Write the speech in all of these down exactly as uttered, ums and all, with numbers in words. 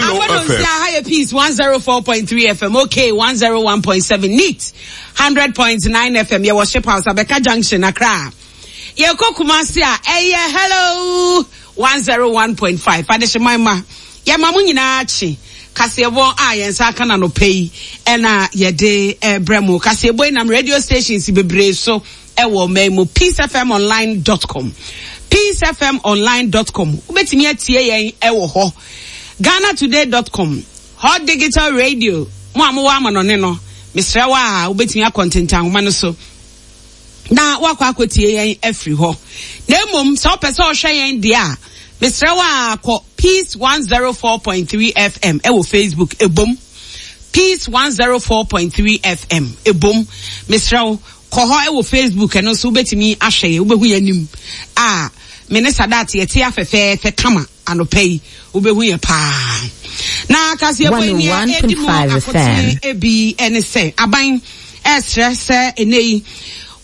Hello F M. Higher Peace one zero four point three F M. Okay, one zero one point seven. Neat. Hundred point nine F M. Yɛ wɔ Ship House, Abeka Junction, Accra. Yɛ kɔ Kumasi a, ɛyɛ Hello one zero one point five. Adehyemma ma. Yɛ ma mo nyinaa akyi. Kaseɛbɔ a yɛn nsa aka na no pɛ yi, ɛna yɛde ɛbrɛ mo. Kaseɛbɔ yi nam radio stations bebree so ɛwɔ mɛn mu. Peace F M online dot com. Peace F M online dot com. Wobɛtumi atie yɛn ɛwɔ hɔ. Ghana Today dot com. Hot Digital Radio. Mo a mowɔ amanɔne no, mesrɛ wo a wobɛtumi akɔ ntentanhoma no so. Na wakɔ akɔtie yɛn afiri hɔ. Na mmom, sɛ wopɛ sɛ ɔhwɛ yɛn deɛ a, mesrɛ wo a kɔ Peace one zero four point three F M ɛwɔ Facebook ebom. Peace one zero four point three F M ebom. Mesrɛ wo kɔ hɔ ɛwɔ Facebook ɛno nso wobɛtumi ahwɛ yɛn, wobɛhu yɛn anim. A me ne Sadat yɛte afɛfɛɛfɛ kama anɔpa yi, wobɛhu yɛn paa. Na kaseɛbɔ yi nea ɛdi mu akotene ebi ɛne sɛ aban ɛsrɛ sɛ ɛnɛ yi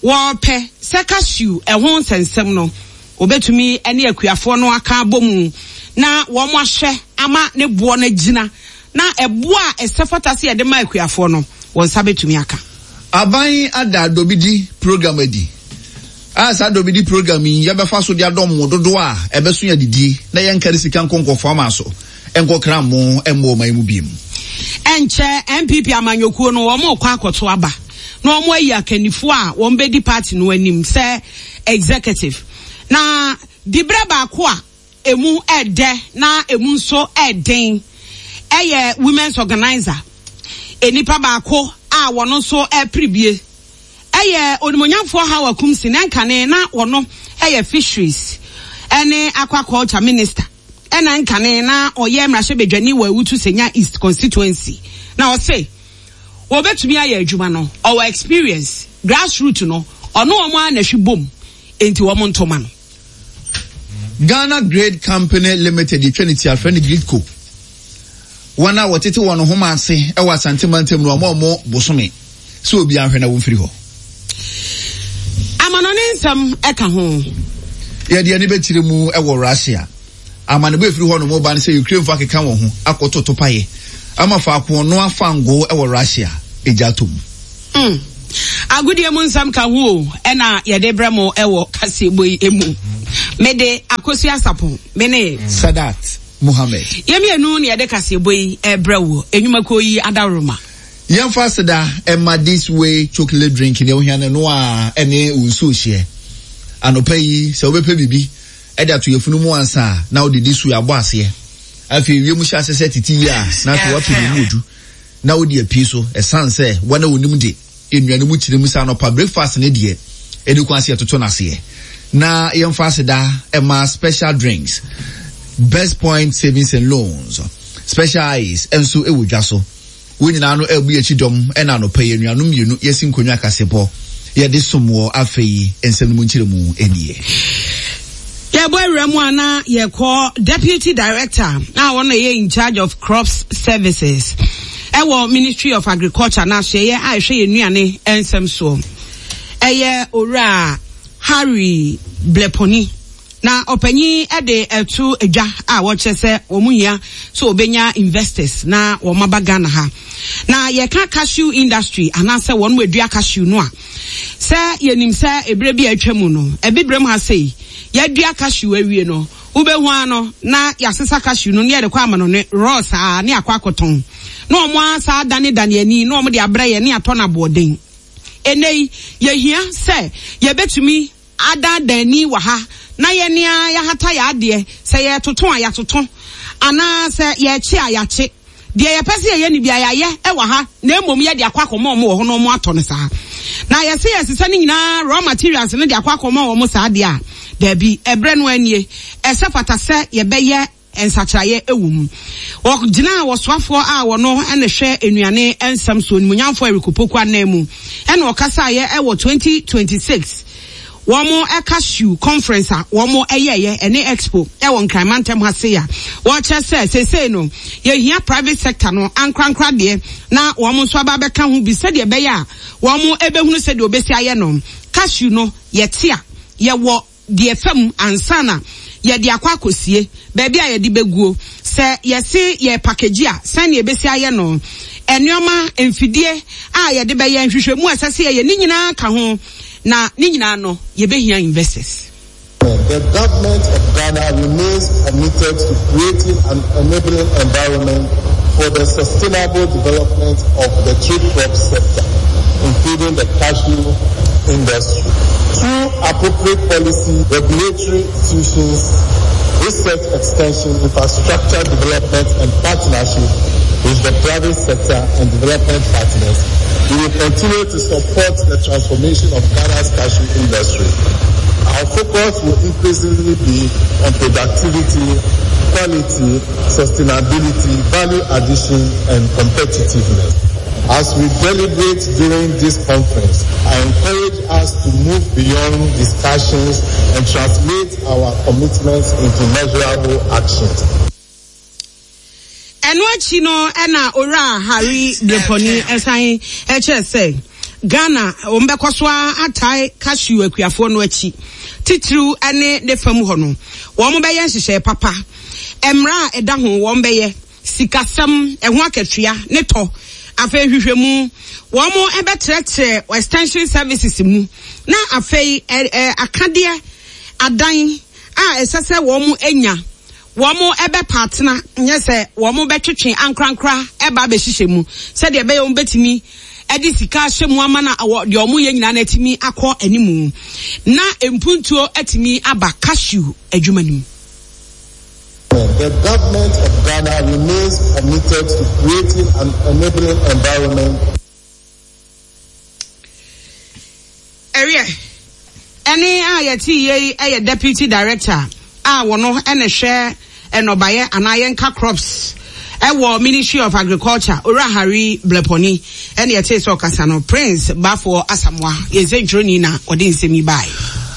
wɔpɛ sɛ cashew ɛho nsɛnsɛm no obetumi ɛne akuafoɔ no aka abɔ mu na wɔn ahwɛ ama ne boɔ no gyina na ɛboɔ a ɛsɛ fata sɛ yɛde ma akuafoɔ no wɔn nsa betumi aka. Aban ada dobidi program adi. A saa dobidi program yi yɛbɛfa so de adɔm mo dodoɔ a ɛbɛso yɛ didie na yɛnkari sika nkɔnkɔfoɔ ama so nkɔkra mo ɛmmɔ ɔman mu biem. Ɛnkyɛ N P P amanyɔkuo no wɔn kɔ akɔto aba na wɔn ayi akannifoɔ a wɔn bɛdi party no anim sɛ executive. Na dibrɛ baako a emu ɛdɛ na emu nso ɛden ɛyɛ women's organizer. Enipa baako a wɔn nso ɛpere ɛyɛ onimonyamfoɔ Hawa Koomson na nkane na wɔn ɛyɛ fisheries ɛne aquaculture minister. Ɛna nkane na ɔyɛ mmarahyɛbadwani wɔ Awutu Senya East constituency. Na ɔse wɔbɛtumi ayɛ adwuma no, ɔwɔ experience grassroots no ɔno wɔn a na hwi bom enti wɔn ntoma no. Ghana Grid Company Limited yɛtwa ne ti afrɛ no Gridco. Wɔn a wɔtete wɔn ho ase ɛwɔ Asante mantam no wɔn a wɔn bosome sɛ obi ahwɛ na wɔmfiri hɔ. Amanɔne nsɛm ɛka ho. Yɛde ani bɛkyerɛ mu ɛwɔ Russia. Amanebo efiri hɔ no mo ba no sɛ Ukraine fo akeka wɔn ho akɔto topaeɛ ama faako no afa ngo ɛwɔ Russia egya ato mu. Mm. Agodie mu nsɛm ka ho o, ɛna yɛde brɛ mo ɛwɔ kaseɛbɔ yi emu. Mede Akosua Sapon, me ne Sadat Mohammed. Yɛmmienu na yɛde kaseɛbɔ yi ɛbrɛ wo enwumakuo yi adaworoma. Yɛmfa aseda ɛma This Way chocolate drink ne ohia no no a ɛne nsuo hyɛ. Anɔpa yi sɛ wobɛpɛ biribi ɛde ato yɛfunu mu ansa na wode This Way abɔ aseɛ. Afei wiem hyɛ ase sɛ tete yi a na afei woapɛ ne mu odu na wode apue so ɛsan sɛ wɔn a wɔnim de nnuane mu kyerɛ mu sɛ anɔpa breakfast ne deɛ ɛne kwan ase yɛtoto n'aseɛ. Na yɛmfa aseda ɛma special drinks, Best Point Savings and Loans, Special Ice ɛnso ɛwɔ dwa so. Wɔn nyinaa no ɛbu akyi dɔm ɛna anɔpa yi nnuanom mmienu yɛsi nkonnwa kasebɔ yɛde som wɔ afei nsɛm no mu nkyerɛ mu nie. Yɛbɔ awura mu ana yɛkɔ deputy director na wɔn yɛ in charge of crops services ɛwɔ Ministry of Agriculture na so yɛ a ɛhwɛ yɛn nnuane nsɛm soɔ. Ɛyɛ owura Harry Bleponi na ɔpanyin ɛde ɛto edwa a wɔkyerɛ sɛ wɔn hia so obenya investors na wɔn aba Ghana ha. Na yɛka cashew industry anaasɛ wɔn mu edua cashew no a sɛ yɛnim sɛ ebere bi a atwa mu no ebibrem ha sei yɛdua cashew awie no wobɛhu ano na yɛasesa cashew no ne yɛde kɔ ama no ne raw saa ne akɔ akɔtɔn na wɔn asa dane dane ani na wɔn de abrɛ yɛ ne atɔ na aboɔden. Ɛnɛ yi yɛhia sɛ yɛbɛtumi adandan wɔ ha na yɛnea yɛahata yɛ adeɛ sɛ yɛtoto a yɛatoto anaa sɛ yɛkye a yɛakye deɛ yɛpɛ sɛ yɛyɛ ne bia yɛayɛ ɛwɔ ha na mmom yɛde akɔ akɔma ɔmo wɔ hɔ na ɔmo atɔ no saa. Na yɛse yɛsesa ne nyinaa raw materials no de akɔ akɔma ɔmo saa deɛ a daabi ɛbrɛ no anie ɛsɛ fata sɛ yɛbɛyɛ nsakyerɛeɛ ɛwɔ mu. Wɔgyina wɔsoafoɔ a wɔno ɛna hwɛ nnuane nsɛm so onimuonyamfoɔ Eric Opoku anan mu ɛna ɔkasaeɛ ɛwɔ twenty twenty-six wɔn cashew conference a wɔn ɛyɛyɛ ɛne expo ɛwɔ Nkranmantam ha se a wɔkyerɛ sɛ seesei no yɛhia private sector no ankorankora deɛ na wɔn nso aba abɛka ho bi sɛdeɛ ɛbɛyɛ a wɔn ɛbɛhunu sɛdeɛ obesi ayɛ no. Cashew no yɛte a yɛwɔ deɛ fam ansa na Yɛde akɔ akɔsie baabi a yɛde bɛguo, sɛ yɛse yɛ package a, sɛnea ebesi ayɛ no, nneɛma mfidie a yɛde bɛyɛ, nhwehwɛmu a ɛsɛ sɛ yɛyɛ ne nyinaa ka ho, na ne nyinaa no yɛbɛhia investors. The government of Ghana remains committed to creating an enabling environment for the sustainable development of the tree crop sector, including the cashew industry. Through appropriate policy, regulatory institutions, research extension, infrastructure development and partnership with the private sector and development partners, we will continue to support the transformation of Ghana's cashew industry. Our focus will increasingly be on productivity, quality, sustainability, value addition, and competitiveness. As we deliberate during this conference, I encourage us to move beyond discussions and translate our commitments into measurable actions. Ɛno akyi no, ɛna Owura Harry Brepɔni ɛsan ɛkyerɛ sɛ Ghana wɔn bɛkɔ so atae cashew akuafoɔ no akyi, titiriw ɛne ne fam hɔ no, wɔn bɛyɛ nhyehyɛe papa, mmara a ɛda ho wɔn bɛyɛ, sikasɛm ɛho akatua ne tɔ, afei nhwehwɛmu, wɔn ɛbɛtrɛtrɛ extension services mu, na afei ɛ ɛ akadeɛ adan a ɛsɛ sɛ wɔn anya, wɔn ɛbɛpa atena, nyɛ sɛ wɔn bɛtwetwe ankorankora ɛba abɛhyehyɛ mu sɛdeɛ ɛbɛyɛ wɔn bɛtumi ɛde sika ahyɛ mu ama na deɛ wɔn yɛ nyinaa na atumi akɔ anim, na mpuntuo atumi aba cashew adwuma no mu. The government of Ghana remains committed to creating an enabling environment. Ɛwiɛ, ɛne a yɛte yie ɛyɛ deputy director a wɔno ɛna hwɛ ɛnɔbayɛ anaa yɛnka crops ɛwɔ Ministry of Agriculture, Owura Harry Blepɔni, ɛne yɛte sɛ ɔkasa no. Prince Bafoɔ Asamoa, yɛn sɛ ntwerɛni, na ɔde nsɛm yi bae.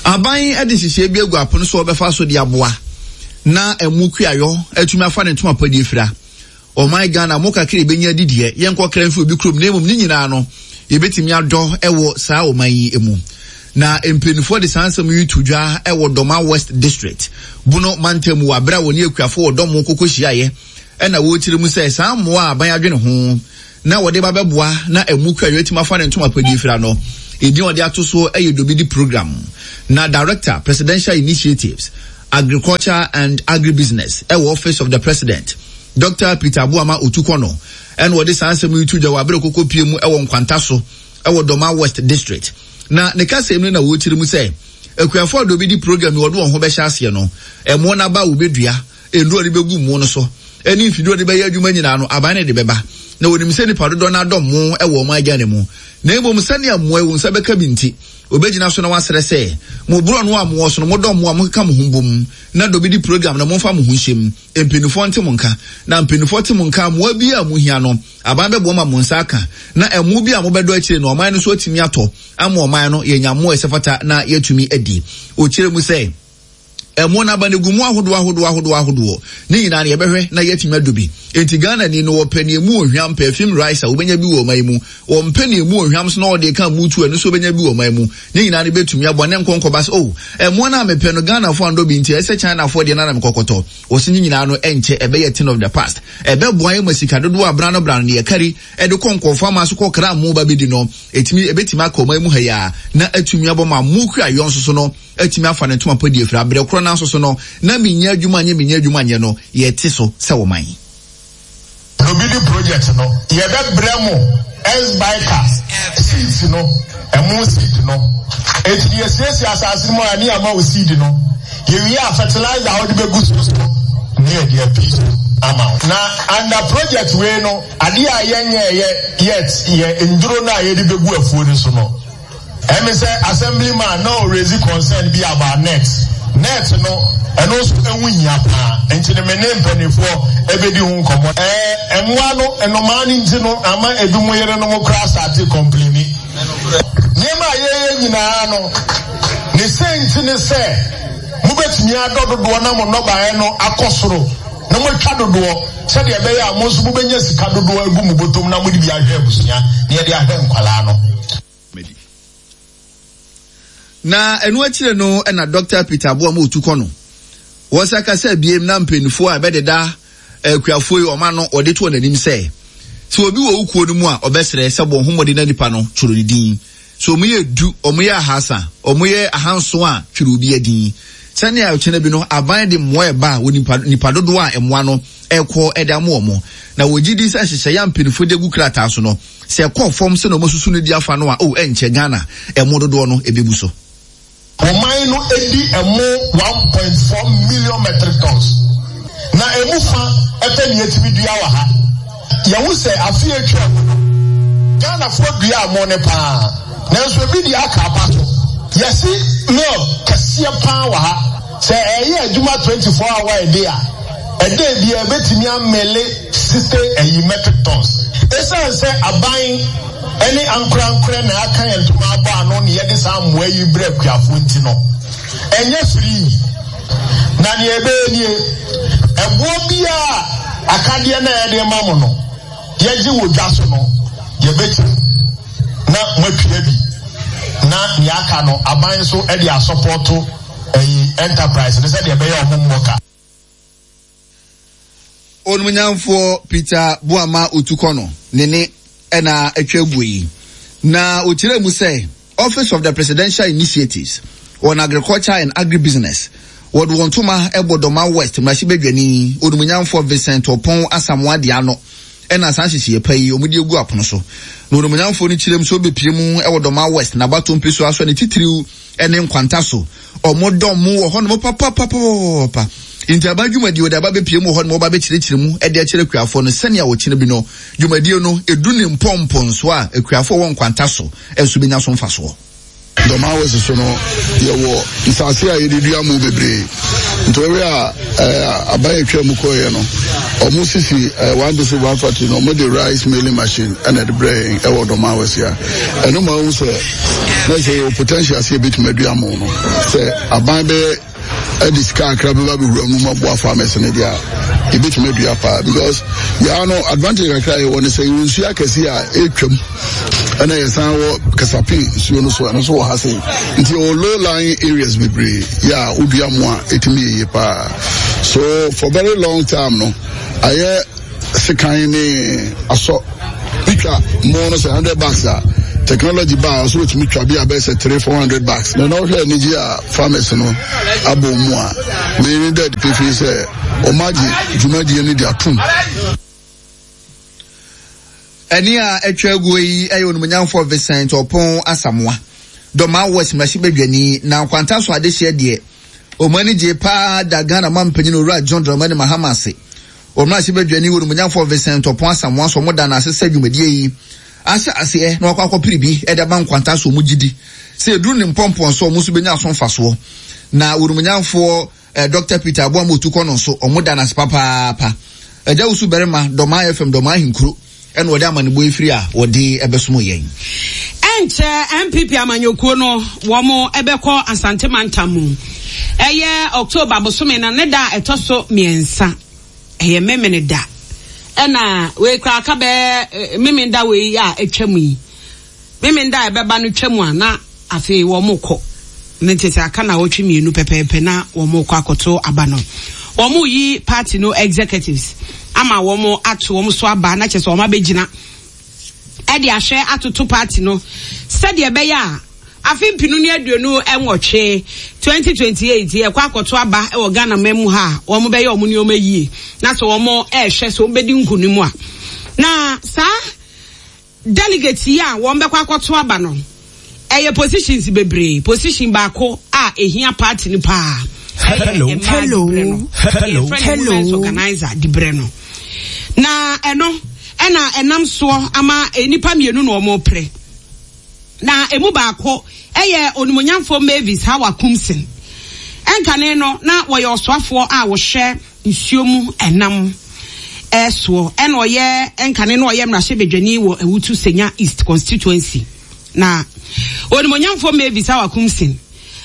Aban de nhyehyɛe bi agu apono so a wɔbɛfa so de aboa na ɛmo kuayɔ atumi afa ne ntoma pa di afira ɔman Ghana. Mo kakra ebenya didiɛ, yɛnkɔ kra mfi obi kurom, na mmom ne nyinaa no yɛbɛtumi adɔ ɛwɔ saa ɔman yi mu. Na mpanimfoɔ de saa nsɛm yi to dwa ɛwɔ Dɔma West District, Bono mantam, wɔ abere a wɔne akuafo wɔ dɔm koko hyiaeɛ, ɛna wɔrekyerɛ mu sɛ saa mmoa a aban adwene ho na wɔde ba bɛboa na ɛmu kuayɔ atumi afa ne ntoma pa di afira no, edin a wɔde ato so ɛyɛ Dobidi Program. Na Director, Presidential Initiatives, Agriculture and Agribusiness ɛwɔ Office of the President, Doctor Peter Abuama Otukono, ɛna wɔde saa nsɛm yi to dwa wɔ abere koko pie mu ɛwɔ Nkwanta so ɛwɔ Dɔma West District. Na ne kasa mu no na wɔrekyerɛ mu sɛ akuafoɔ a Dobidi Program yi wɔde wɔn ho bɛhyɛ aseɛ no, ɛmo n'aba a wɔbɛdua, nnuro a wɔde bɛgu mu no so ɛne mfidie a wɔde bɛyɛ adwuma nyinaa no, aban no de bɛba. Na wɔnim sɛ nipa dodoɔ no adɔ mo ɛwɔ ɔman Ghana mu, na mmom sɛnea mmoa yi wɔn nsa bɛka bi nti, obɛgyina so na wasrɛ sɛ mo borɔ no a mowɔ so no, modɔ mo a mokeka mo ho bom na Dobidi Program no momfa mo ho nhyɛ mu. Mpanimfoɔ nte mo nka, na mpanimfoɔ te mo nka, mmoa bi a mohia no, aban bɛboa ma mo nsa aka, na ɛmo bi a mobɛdɔ akyire no, ɔman no nso atumi atɔ ama ɔman no yɛnya mmoa ɛsɛ fata na yɛatumi adi. Ɔkyerɛ mu sɛ ɛmo n'aba no gu mu ahodoɔ ahodoɔ ahodoɔ ahodoɔ, ne nyinaa no yɛbɛhwɛ na yɛatumi adɔ bi. Enti Ghana ni no, wɔpɛ nea emu ohwam perfume rice a, wobɛnya bi wɔ ɔman yi mu. Wɔmpɛ nea emu ohwam so na wɔde ka mu tu, ɛno nso wobɛnya bi wɔ ɔman mu. Ne nyinaa no bɛtumi aboa ne nkɔnkɔba sɛ, oh, ɛmoa no a mepɛ no, Ghanafoɔ andɔ bi nti ɛsɛ Chinafoɔ deɛ no na mekɔkɔtɔ. Wɔsi ne nyinaa no ɛnkyɛ ɛbɛyɛ thing of the past. Ɛbɛboa yɛ ma sika dodoɔ a brano brano ne yɛkari ɛde kɔ nkɔmfo ama so kɔkra mo ba bɛdi no, ɛtumi ɛbɛtumi aka ɔman mu ha yi a, na atumi abɔ ma mo kua yɔ nso so no atumi afa ne ntoma pa di afiri abrɛ korɔ. Nanso so no na menya adwuma nyɛ, menya adwuma nyɛ no, yɛte so sɛ wɔman. Dobidi Project no, yɛbɛbrɛ mo S-Biker seeds no, ɛmo seed no. Eti yɛsiesie asase no mu a, ne ama wo seed no. Yɛwie a, fertilizer a wode bɛgu so so ne yɛde api so ama wo. Na under project wei no, adeɛ a yɛnyɛ yɛ yet yɛ nduro no a yɛde bɛgu afuo no so no. Ɛmi sɛ assemblyman na ɔraise concern bi about net net no, ɛno nso ɛho hia paa, nti ne me ne mpanimfoɔ ɛbɛdi ho nkɔmmɔ. Ɛɛ mmoa no, nnomaa no nti no ama ebi mo yerenom koraa start complain. Nneɛma a yɛyɛ nyinaa no, ne sɛ nti ne sɛ mobɛtumi adɔ dodoɔ na mo nnɔbaeɛ no akɔ soro na moatwa dodoɔ, sɛdeɛ ɛbɛyɛ a mo nso mobɛnya sika dodoɔ agu mo bɔtɔm na mode bi ahwɛ abusua na yɛde ahwɛ nkwalaa no. Na ɛno akyire no, ɛna Doctor Peter Aboa ma otu kɔ no, Wɔsa kasa biem na mpanyinfoɔ a ɛbɛdeda akuafoɔ yi ɔma no wɔde to wɔn anim sɛ sɛ obi wɔ wo kuo no mu a ɔbɛsrɛ sɛ bɔ ho mmɔden na nipa no twerɛ ne din. So ɔmo yɛ du, ɔmo yɛ ahasa, ɔmo yɛ ahanson a, twerɛ obi adin. Sɛnea ɔkyena bi no aban de mmoa ɛba a wɔ nipa nipa dodoɔ a mmoa no ɛkɔ ɛde ama wɔn. Na wɔgye di sɛ nhyehyɛeɛ a mpanyinfoɔ de agu krataa so no, sɛ ɛkɔ fam sɛ na ɔmo susu no di afa no a, o ɛnkyɛ Ghana ɛmo dodoɔ no ebebu so. Ɔman no di ɛmo one point four million metric tons, na emu fa pɛ na yɛtumi dua wɔ ha. Yɛhu sɛ afe a atwam no, Ghanafoɔ duaa mo no paa, nanso ebi deɛ aka apa so. Yɛsi mill kɛseɛ paa wɔ ha. Sɛ ɛyɛ adwuma twenty four hour a day a, ɛda biara ɛbɛtumi amele sixty ɛyi metric tons. Esiane sɛ aban ne ankorankorɛ na aka yɛn ntoma abɔ ano na yɛde saa mmoa yi brɛ akuafoɔ nti no, ɛnyɛ firii. Na nea ɛbɛyɛ nie, ɛboɔ biara a akadeɛ no a yɛde ma mo no, yɛgye wɔ dwa so no, yɛbɛkyɛ na moatua bi, na nea aka no, aban nso de asɔpɔto ɛyi enterprise no sɛdeɛ ɛbɛyɛ ɔmo mmɔ ka. Onumnyamfoɔ Peter Boamah Otukɔno ne ne ɛna atwa aguo yi. Na ɔkyerɛ mu sɛ Office of the Presidential Initiatives on Agriculture and Agribusiness wɔde wɔn ntoma ɛbɔ Dɔma West mmarahyɛbadwani onumnyamfoɔ Vincent Ɔpɔn Asamoah de ano ɛna saa nhyehyɛeɛ pa yi wɔn de agu apono so. Na onumnyamfoɔ no kyerɛ mu sɛ ɔbɛpie mu ɛwɔ Dɔma West n'abato mpesoa so ne titiriw ɛne nkwanta so. Ɔmo dɔm mu wɔ hɔnom papapapapa. Nti aba dwumadie wɔde aba bɛpie mu wɔ hɔnom, wɔba bɛkyerɛkyerɛ mu ɛde akyerɛ akuafoɔ no sɛnea wɔkyerɛ bi no dwumadie no edu ne mpɔmpɔnso a akuafoɔ wɔ nkwanta so nso bɛnya so mfasoɔ. Dɔma West so no, yɛwɔ nsase a yɛde dua mu bebree. Nti wɔhwɛ a ɛɛ aban atwa mu kɔɔeɛ no, ɔmo sisi ɛɛ one district one factory no, ɔmo de rice milling machine ɛna ɛde brɛ yɛn ɛwɔ Dɔma West a. Ɛno ma ohun sɛ na sɛ yɛwɔ potential sɛ yɛbɛtumi adua mo no, sɛ aban bɛyɛ ɛde sika akra bɛba bɛwura mu ma boa farmers no deɛ a, yɛbɛtumi adua paa, because yɛa no advantage kakra a yɛwɔ no sɛ yɛwɔ nsuo akɛse a ɛtwam, ɛna yɛsan wɔ Kasape nsuo no so, ɛno nso wɔ ha sei, nti yɛwɔ low lying areas bebree yɛ a wodua mo a ɛtumi yɛ yie paa. So for very long time no, ayɛ sekan ne asɔ bitwa mo no sɛ hundred bags a, technology ba a ɔso wotumi twa bi a bɛyɛ sɛ three four hundred bags. Na na ɔhwɛ anigye a farmers no abɔ mu a, wei ne dɛ pefee sɛ ɔmo agye dwumadie no de atom. Ɛne a atwa aguo yi ɛyɛ onumnyamfoɔ Vincent Ɔpɔn Asamoah, Dɔma West mmarahyɛbadwani. Na nkwanta so adehyeɛ deɛ, ɔmo ani gye paa da Ghana mampanyin Owura John Dramani Mahama ase. Ɔmmarahyɛbadwani onumnyamfoɔ Vincent Ɔpɔn Asamoah so ɔmo da n'ase sɛ dwumadie yi ahyɛ aseɛ na wakɔ akɔpere bi ɛde aba nkwanta so, ɔmo gye di sɛ eduru ne mpɔmpɔn so ɔmo nso benya so mfasoɔ. Na onumnyamfoɔ eh, Doctor Peter Aboama Otukɔ no nso ɔmo da n'ase papaapa. Agya Wusu Barima, Dɔmaa F M, Dɔmaa Ahenkuro, ɛna wɔde amanebɔ efiri a wɔde ɛbɛsom yɛn. Ɛnkyɛ N P P amanyɔkuo no wɔn ɛbɛkɔ Asante mantam mu. Ɛyɛ October bosome na ne da a ɛtɔ so mmiɛnsa. Ɛyɛ Memene da. Ɛna wei koraa aka bɛɛ Memene da wei a atwa mu yi. Memene da a ɛbɛba no twa mu a na afei wɔn kɔ. Ne nti sɛ aka na wɔtwe mmienu pɛpɛɛpɛ na wɔn kɔ akɔto aba no. Wɔn yi party no executives ama wɔn ato wɔn so aba na kyerɛ sɛ wɔn abɛgyina ɛde ahwɛ atoto party no sɛdeɛ ɛbɛyɛ a afe mpinu ne aduonu nwɔtwe twenty twenty-eight yɛkɔ akɔto aba wɔ Ghana man mu ha a, wɔn bɛyɛ wɔn nneɛma yie na sɛ wɔn ɛrehwɛ sɛ wɔn bɛdi nkunim a, na saa delegate yi a wɔn bɛkɔ akɔto aba no, ɛyɛ positions bebree. Position baako a ehia party no paa. Hello, hello, hello, hello. Women's organizer dibrɛ no, na ɛno ɛna ɛnam soɔ ama nnipa mmienu na wɔn pere, na emu baako ɛyɛ onimonyamfoɔ Mavis Hawa Koomson. Ɛnkane no na wɔyɛ ɔsoafoɔ a wɔhwɛ nsuo mu ɛnam ɛsoɔ, ɛna ɔyɛ ɛnkane no ɔyɛ mmarahyɛbadwani wɔ Awutu Senya East constituency. Na onimonyamfoɔ Mavis Hawa Koomson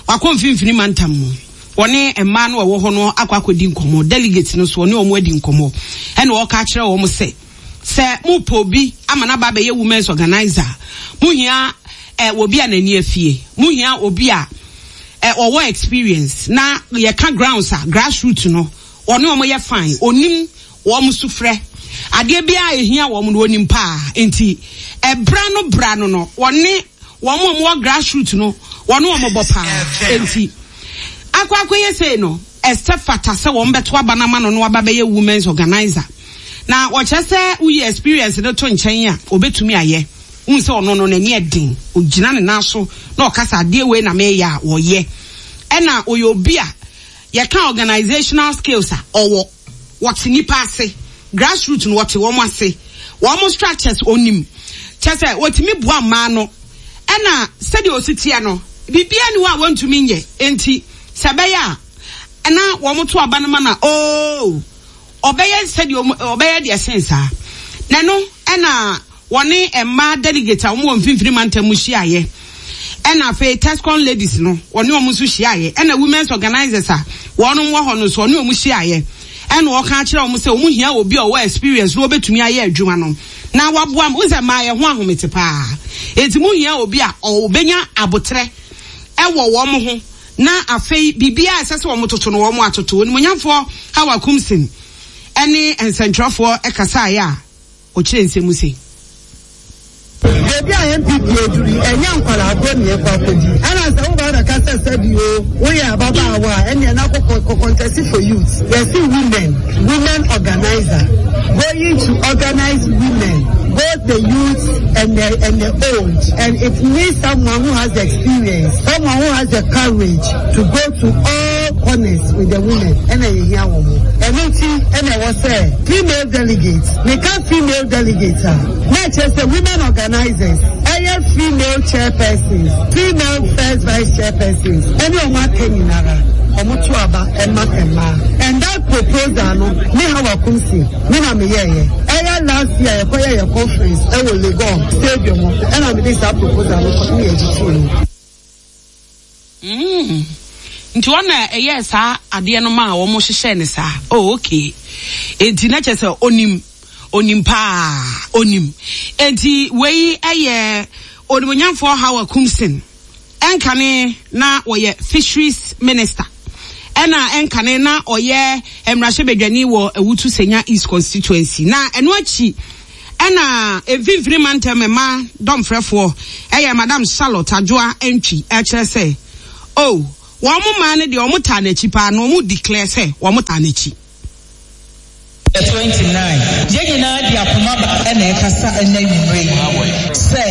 wakɔ mfimfini mantam mu, wɔne mmaa no a ɛwɔ hɔ no akɔ akɔdi nkɔmɔ. Delegate no so wɔne wɔn adi nkɔmɔ, ɛna ɔka akyerɛ wɔn sɛ sɛ mopɛ obi ama n'aba abɛyɛ women's organizer, muhia ɛ obi a n'ani afie, muhia obi a ɔwɔ experience na yɛka grounds a grassroots no ɔne wɔn yɛ fine, onim wɔn sufrɛ adeɛ biara ehia wɔn no onim paa. Nti ɛbra no bra no no wɔne wɔn a wɔwɔ grassroots no wɔne wɔn bɔ paa. Nti akɔ akɔyɛ sei no ɛsɛ fata sɛ wɔn bɛto aba no ama no no aba bɛyɛ women's organizer. Na wɔkyerɛ sɛ woyi experience no to nkyɛn a obetumi ayɛ. Wohu sɛ ɔno no n'ani ɛden, ogyina ne nan so na ɔkasa adeɛ wei na meyɛ a wɔyɛ. Ɛna ɔyɛ obi a yɛka organizational skills a ɔwɔ, wɔte nipa ase, grassroots no wɔte wɔn ase, wɔn structures onim. Kyerɛ sɛ wɔtumi boa mmaa no. Ɛna sɛdeɛ osi teɛ no, biribiara ni hɔ a wɔntumi nyɛ. Enti sɛ ɛbɛyɛ a na wɔn to aba no ma na ooo ɔbɛyɛ sɛdeɛ ɔbɛyɛ deɛ sen saa. Na no ɛna wɔne mmaa delegate a wɔn wɔ mfimfini mantam mu hyiaeɛ. Ɛna afei Tescon ladies no wɔne wɔn nso hyiaeɛ. Ɛna women's organizers a wɔn wɔ hɔ no nso wɔne wɔn hyiaeɛ. Ɛna wɔka akyerɛ wɔn sɛ wɔn hia obi a ɔwɔ experience na wɔbɛtumi ayɛ adwuma no na waboa mu. Sɛ mmaa yɛ ho ahomete paa, eti mu hia obi a ɔbɛnya abotrɛ ɛwɔ wɔn ho na afei biribiara ɛsɛ sɛ wɔn toto no wɔn atoto. Onimonyamfoɔ Hawa Koomson ɛne nsɛntwerɛfoɔ ɛkasaeɛ a ɔkyerɛ nsɛm se. Beebi a N P P aduru ɛnyɛ nkwadaa agorɔ ne yɛkɔ akɔdi. Ɛna sɛ woba bɛka sɛ sɛbi o woyɛ ababaawa a ɛneɛ na kɔkɔ contest for youth. Yɛsi women, women organizer going to organize women, both the youth and the and the old. And it needs someone who has the experience, someone who has the courage to go to all corners with the women. Ɛna yɛhia wɔn mo. Ɛno nti ɛna ɛwɔ sɛ female delegates, meka female delegates a, na ɛkyerɛ sɛ women organizers, ɛyɛ female chairpersons, female first vice chairpersons, ɛne wɔn aka nyinara, wɔn to aba ɛma mmaa. And that proposal no, me Hawa Koomson, me na me yɛɛyɛ. Ɛyɛ last year yɛkɔyɛ yɛ conference ɛwɔ Legon stadium hɔ, ɛna me de saa proposal no kɔ ne yɛ gye mu. Mm. Nti wɔn na ɛyɛ saa adeɛ no ma a wɔn hyehyɛ ne saa. Oh, okay. Enti na kyerɛ sɛ onim, onim paa, onim. Enti wei ɛyɛ onimonyamfoɔ Hawa Koomson. Ɛnkane na ɔyɛ fisheries minister. Ɛna ɛnkane na ɔyɛ mmarahyɛbadwani wɔ Awutu Senya East constituency. Na ɛno akyi ɛna mfimfini mantam mmaa dɔmfrɛfoɔ ɛyɛ Madam Charlotte Adwoa Antwi ɛkyerɛ sɛ oh wɔn mmaa no deɛ wɔn taa n'akyi paa na wɔn declare sɛ wɔn taa n'akyi. twenty-nine yɛn nyinaa de akoma ba ɛna ɛkasa ɛna nwumire yi sɛ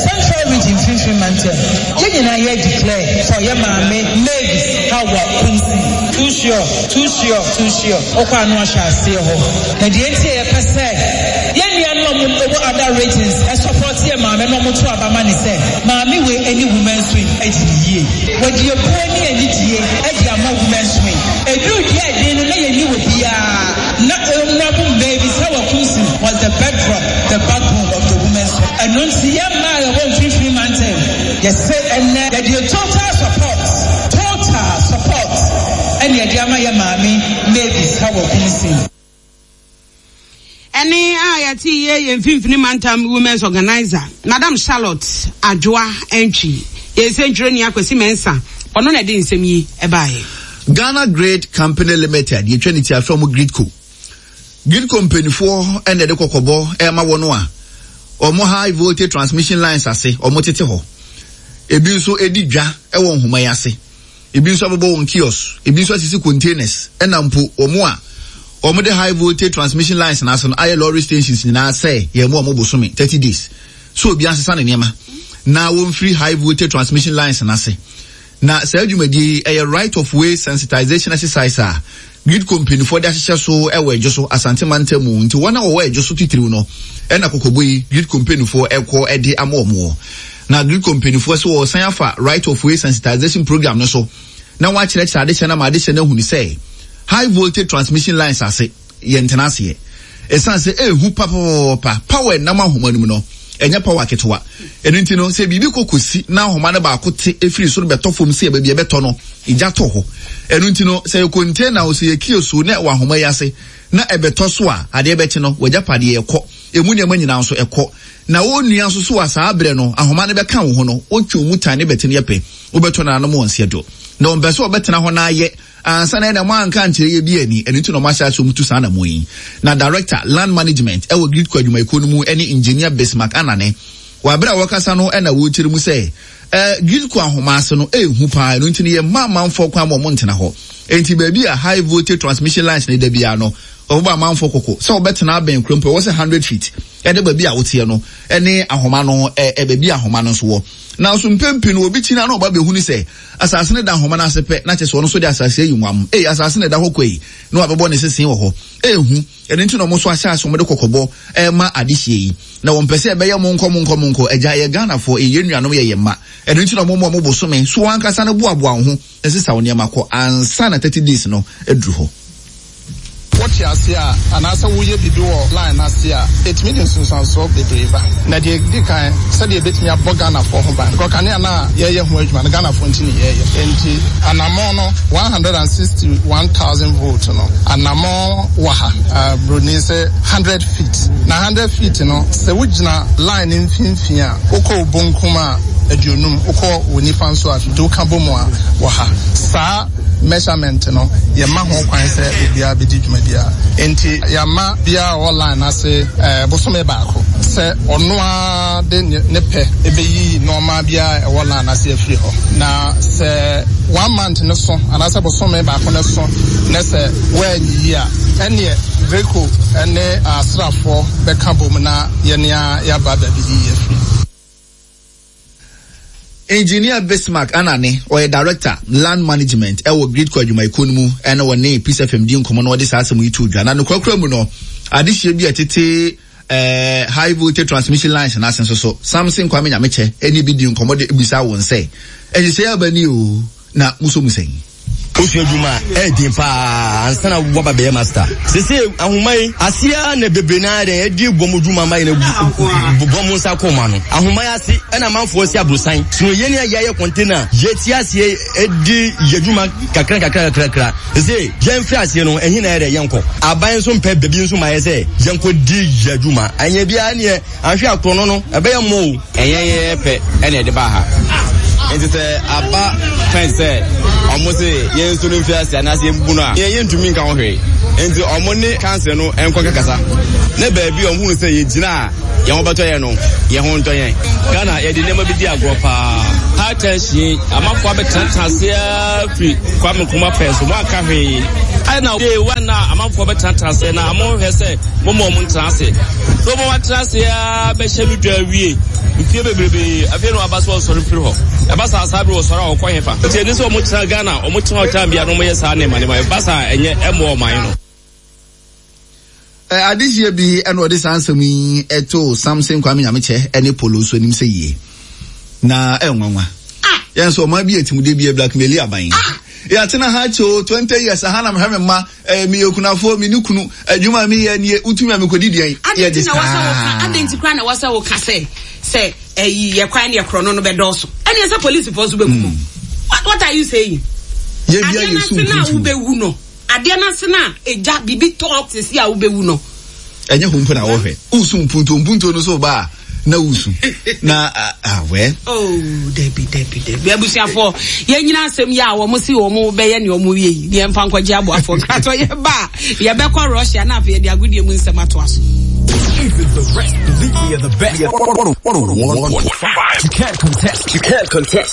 Central Region mfimfini mantam yɛn nyinaa yɛ declare for yɛ maame Mavis Hawa Koomson. Too sure, too sure, too sure. Ɔkɔ ano ahyɛ aseɛ hɔ na deɛ nti a yɛpɛ sɛ yɛn nuanom a wɔwɔ other regions ɛsupport yɛ maame na wɔto aba ma ne sɛ maame wei ɛne women's wing adi ne yie. Wɔde ebuo ne anidie ɛde ama women's wing. Eduru deɛ ɛden no na yɛni wɔ biara. Na Honorable Mavis Hawa Koomson was the bedrock, the backbone of the women's wing. Ɛno nti yɛn mmaa a yɛwɔ mfimfini mantam yɛsɛ ɛnɛ yɛde total support, total support ɛne yɛde ama yɛ maame Mavis Hawa Koomson. Ɛne a yɛte yɛ yɛn mfimfini mantam women's organizer Madam Charlotte Adwoa Antwi. Yɛn nsɛntwerɛni Akwasi Mensah ɔno na ɛde nsɛm yi ɛbaeɛ. Ghana Grid Company Limited yɛtwa ne ti afɛ ɔmo Gridco. Gridco mpanyinfoɔ ɛna ɛde kɔkɔbɔ ɛma wɔn a ɔmo high voltage transmission lines ase ɔmo tete hɔ. Ebi nso edi dwa ɛwɔ nhoma yi ase. Ebi nso abobɔ wɔn kiosk, ebi nso asisi containers ɛna mpo wɔn a wɔn de high voltage transmission lines n'ase no ayɛ lorry stations nyinaa sɛ yɛn mu a wɔn bosome thirty days. So obi asesa ne nneɛma na wɔn firi high voltage transmission lines n'ase. Na saa dwumadie yi ɛyɛ right of way sensitization exercise a Gridco mpanyinfoɔ de ahyehyɛ so ɛwɔ Adwo so Asante mantam mu. Nti wɔn a wɔwɔ Adwo so titiriw no ɛna kɔkɔbɔ yi Gridco mpanyinfoɔ ɛkɔ ɛde ama wɔn wɔ. Na Gridco mpanyinfoɔ sɛ wɔsan afa right of way sensitization program no so na wɔakyerɛkyerɛ adehyɛ no ama adehyɛ no ahunu sɛ high voltage transmission lines ase yɛn ntena aseɛ. Ɛsan sɛ ehu papaapa power nam ahoma no mu no ɛnyɛ power ketewa. Ɛno nti no sɛ biribi kɔ kɔsi na ahoma no baako te efiri soro bɛtɔ fam sɛ baabi ɛbɛtɔ no egya tɔ hɔ. Ɛno nti no sɛ yɛ container o sɛ yɛ kiosk o na ɛwɔ ahoma yi ase na ɛbɛtɔ so a adeɛ bɛkye no wagya padeɛ ɛkɔ emu nneɛma nyinaa nso ɛkɔ. Na wɔn nua nso so a saa abere no ahoma no bɛka wo ho no wɔtwe mu tan ne bɛte no yɛ pɛ wobɛtɔ nananom wɔn nseɛ do. Na wɔmpɛ sɛ wɔbɛtena hɔ na ayɛ ansa na ɛna mo anka ankyerɛ yɛ bi ani. Ɛno nti na wɔahyɛ ase wɔn tu saa anamɔ yi. Na Director, Land Management ɛwɔ GRIDCo adwumayɛkuo no mu ɛne Engineer Bismarck Anane. Wɔ abere a wɔkasa no ɛna wɔrekyerɛ mu sɛ ɛɛ GRIDCo ahoma ase no ɛɛhu paa. Ɛno nti no yɛ mma amanfoɔ kwan ma wɔn ntena hɔ. Enti baabi a high voltage transmission lines ne da biara no, wɔbɛbɔ amanfoɔ kɔkɔ sɛ wɔbɛtena abɛn kuro mpo ɛwɔ sɛ hundred feet ɛde baabi a woteɛ no ɛne ahoma no ɛ baabi a ahoma no nso wɔ. Nanso mpɛn pii no obi kyi na na ɔba bɛhu ne sɛ asase no da ahoma no ase pɛ na kyerɛ sɛ ɔno nso de asase ayi nwam. Ei, asase no da hɔ kwa yi na wabɛbɔ ne sese wɔ hɔ. Ehu, ɛno nti na wɔn nso ahyɛ ase wɔn de kɔkɔbɔ ɛrema adehyeɛ yi. Na wɔn pɛ sɛ ɛbɛyɛ mo nkɔ mo nkɔ mo nkɔ. Agya, yɛ Ghanafoɔ, yɛ yɛn nuanom, yɛ yɛn mma. Ɛno nti na wɔn mo wɔn bosome so wɔn ankasa no boaboa wɔn ho na sesa wɔn nneɛma kɔ ansa na thirty days no aduru hɔ. Wote ase a, anaasɛ woyɛ biribi wɔ line no ase a, ɛtumi de nsunsuansoɔ bebree ba. Na deɛ ɛdi kan, sɛdeɛ ɛbɛtumi abɔ Ghanafoɔ ho ban. Because kanea no a yɛreyɛ ho adwuma no, Ghanafoɔ nti ne yɛreyɛ. Enti anammɔn no, one hundred and sixty one thousand volt no, anammɔn wɔ ha, uh, Broni sɛ hundred feet. Na hundred feet no, sɛ wogyina line no mfimfini a, wokɔ wo bonkum a, aduonum, wokɔ wo nifa nso a, nti woka bɔ mu a, wɔ ha. Saa measurement no, yɛma ho kwan sɛ obiara bɛdi dwuma biara. Enti yɛama biara a ɔwɔ line ase eh, bosome baako sɛ ɔno ara de ne pɛ ɛbɛyi nneɛma biara a ɛwɔ line ase afiri hɔ. Na sɛ one month no so anaasɛ bosome baako no so na sɛ woanyiyi a, ɛneɛ Greco ne asraafoɔ bɛka bom na yɛne a yɛaba baabi afiri. Engineer Bismarck Anane, ɔyɛ Director, Land Management ɛwɔ GRIDCo adwumayɛkuo no mu, ɛna wɔne Peace F M di nkɔmmɔ na wɔde saa asɛm yi to dwa. Na nokorakora mu no, adehyeɛ bi a ɛtete eh, high voltage transmission lines n'ase nso so, Samson Kwame Nyamekyɛ ɛne bi di nkɔmmɔ de bisa wɔn sɛ, ɛhyehyɛ aba ni o, na muso mu sɛn? Wosua adwuma a ɛyɛ den paa ansa na woaba bɛyɛ master. Sese ahoma yi aseɛ na bebree naa dɛn ɛdi bɔ mo dwuma ma yɛn bɔ mo nsa kɔn ma no. Ahoma yi ase ɛna amanfoɔ si aborosan. Sono yɛn a yɛayɛ container yɛti aseɛ ɛdi yɛ dwuma kakra kakra kakra. Sese yɛn firi aseɛ no ɛhin na yɛ dɛ yɛn kɔ. Aban nso mpɛ bebi nso ma yɛ sɛ yɛn kɔ di yɛ dwuma. Ɛnyɛ biara neɛ ahwɛ akorɔ no no ɛbɛyɛ mmɔ o. Ɛnyɛ yɛ pɛ ɛna ɛde ba ha. Nti sɛ aba fɛn sɛ ɔmo se yɛn nso no mfi ase anaasɛ yɛn bu no a, yɛn yɛntumi nka ho hwee. Nti ɔmo ne kansa no nkɔ kakasa. Na baabi a ɔmo hunu sɛ yɛgyina a yɛn ho bɛtɔ yɛn no, yɛn ho ntɔ yɛn. Ghana yɛde nneɛma bi di agorɔ paa. High tension, amanfoɔ abɛtenatena ase ara firi Kwame Nkrumah pɛn so, mo anka hwee. Ɛna day one na amanfoɔ bɛtenatena ase na mo hwɛ sɛ mo ma ɔmo ntena ase. So mo atena ase ara bɛhyɛ no dwa awie. Mfie bebrebe afei na waba so ɔsɔre firi hɔ. Ɛba saa saa bere wɔsɔre a wɔkɔ hefa. Nti ɛni sɛ wɔn tena Ghana, wɔn tena ɔtan bia na wɔn yɛ saa nneɛma nneɛma. Ɛba saa ɛnyɛ ɛmmoa ɔman no. Adehyeɛ bi ɛna ɔde saa nsɛm yi ɛto Samson Kwame Nyamekyɛ ɛne Polo nso anim sɛ yie na ɛnwanwa. Yɛn nso ɔman bi etimude bi blackmail aban. Yɛatena ha kyɛ o twenty years ha na mehwɛ me mma ɛɛ meyɛ okunafoɔ me ne kunu adwuma mi yɛ nie wotumi a mekɔdi deɛn yɛ de saa. Adɛn nti koraa na ɛwɔ sɛ woka sɛ sɛ ɛyi yɛ kwan ne yɛ korɔ no no bɛdɔɔso ɛne ɛsɛ polisifoɔ nso bɛku mu. What are you saying? Yɛ bia yɛ su adeɛ no ase na wobɛwu no adeɛ no ase na egya biribi tɔ sisi a wobɛwu no. Ɛnyɛ ho mpo na wɔhwɛ wosu mpuntuo mpuntuo no so ba a na wusu na awɛ. Oh dabi dabi dabi abusuafoɔ yɛn nyina asɛm yi a wɔn si wɔn bɛyɛ nea wɔn yɛ yi deɛ mfa nkɔgye aboafoɔ nkratɔ yɛ ba a yɛbɛkɔ Russia na afei yɛde agodie mu nsɛm atoa so. Even the rest believe we are the best. You can't contest. You can't contest.